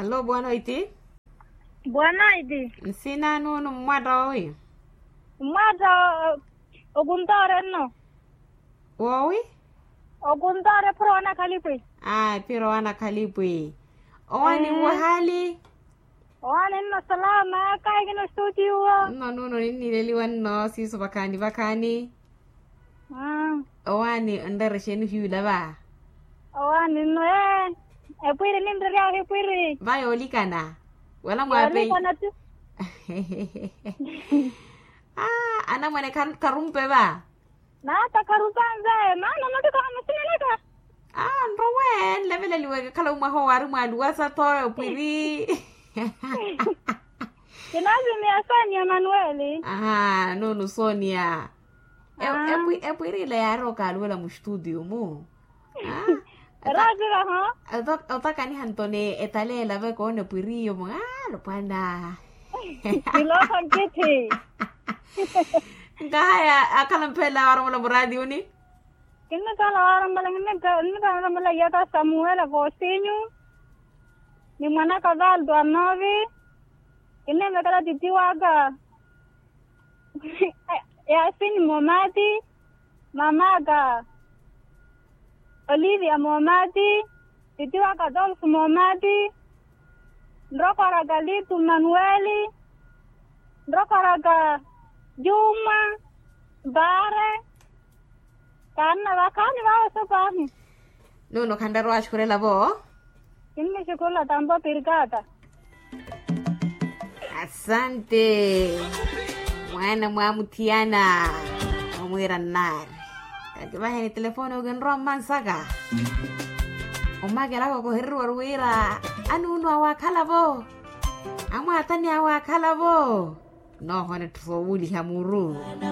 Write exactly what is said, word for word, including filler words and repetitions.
Allo bwanoiti. Bwanoiti. Nsina nunu mmwatta owi? Mmwatta okuntoore nno. Wowi? Okuntoore phuro wana khalipwi. Ayi phuro wana khalipwi. Owani wahali? Owani nno salama kahi kino studio. Nno nunu ninnileliwa nno siiso vakhaani vakhaani. Owaani onreera exeeni ohiyula va? Owaani nno ee. Epwiri ninreeryahu epwiri. Va yoolikana wala mwaapeyi. Yoolikana tu. Anamwane kharumpe va? Naata kharupanze maana mutiko hamusinanaka. Nrowe nleveleliweke khala omwaha owaari mwaluwasa tho epwiri. Kinazimiya sonia manueli. Aha nunu sonia. Epwirila yaari okaluwela mustutio mu. Eraasiraho. Otakaniha ntoni etaleela veka oona epwiriyo mu alopwana. Kilookho nkithi. Nkahaya akhala mphelela waaromola muraatiuni. Kinnikhala waaromola kinnikhala waaromola iyaka samuela kosinyu. Ni mwanaka valdo anovi. Kinneemekela titi waka. Yasini momati. Mamaka olivia momati. Titi waka adolfo momati. Nrokoraka litu manueli. Nrokoraka juma. Bare. Kanna vakhaani vawe sopaani. Nuno khanraru axukhurela vo. Kinni xukhurela tampo pirkata. Asante. Mwaana mwamuthiyana. Omwiira nnaari. Kakivaheni telefoni okinrowa mmansaka. Omakelaka okohereriwa oruwiira anuunu awaakhala vo. Amwaatani awaakhala vo. Noohona etthu soowuuliha muru.